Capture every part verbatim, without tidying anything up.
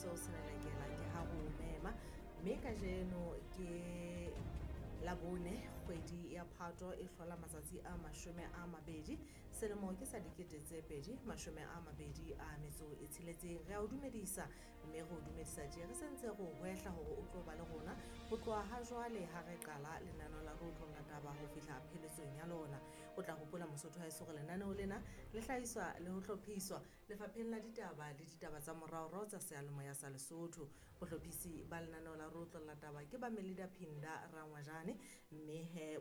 seo selelekela ke ha ho mema mme kajeno ke Labone kgwedi ya Phato e hlola matsatsi a mashome a mabedi selemo ke sa dikete tse pedi mashome a mabedi a metso e tsheletseng. Re a o dumedisa mme re o dumedisa tje re sentse re o hwehla hore o tlo ba le rona ho tloha ha jwale ha re qala lenaneo la Re Otlolla Taba ho fihla pheletsong ya lona. O tla hopola Mosotho haeso hore lenaneo lena le hlahiswa le ho hlophiswa lefapheng la ditaba le ditaba tsa moraorao tsa seyalemoya sa Lesotho. Bohlophisi ba lenaneo la Re Otlolla Taba ke ba Melida Phinda Rangwajane mme he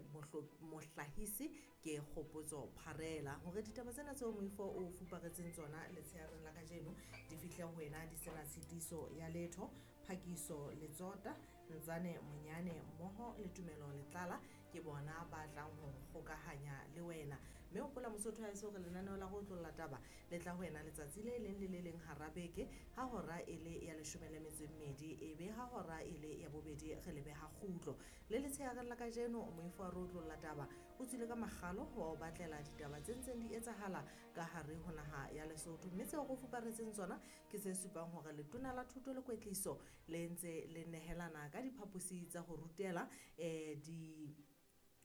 mohlahisi ke Kgopotso Pharela. Hore ditaba tsena tseo moifo o fuparetseng tsona letsheareng la kajeno di fihle ho wena di sena tshitiso ya letho, Phakiso Letsota, Ntsane Monyane mmoho le Tumelo Letlala ke bona ba tlang ho kgokahanya le wena. Mme hopola Mosotho haeso hore lenaneo la Re Otlolla Taba le tla ho wena letsatsi le leng le le leng hara beke ha hora e le ya leshome le metso e mmedi, e be ha hora e le ya bobedi re le beha kgutlo. Le letsheareng la kajeno moifo wa Re Otlolla Taba o tswile ka makgalo wa o batlela ditaba tse ntseng di etsahala ka hare ho naha ya Lesotho, mme tseo re fuparetseng tsona ke tse supang hore letona la thuto le kwetliso le ntse le nehelana ka diphaposi tsa ho rutela eh di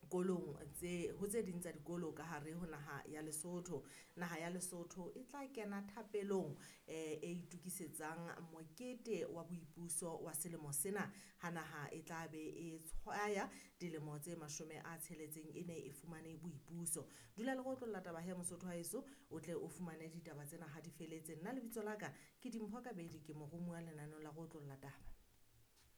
kolong tse ho tse ding tsa dikolo ka hare ho naha ya Lesotho. Naha ya Lesotho e tla kena thapelong eh e itukisetsang mokete wa boipuso wa selemo sena ha naha e tla be e tshwaya dilemo tse mashome a tsheletseng e ne e fumane boipuso. Dula le Re Otlolla Taba he Mosotho haeso o tle o fumane ditaba tsena ha di feletse. Nna lebitso la ka ke Dimpho Kabedi, ke moromuwa lenaneong la Re Otlolla Taba.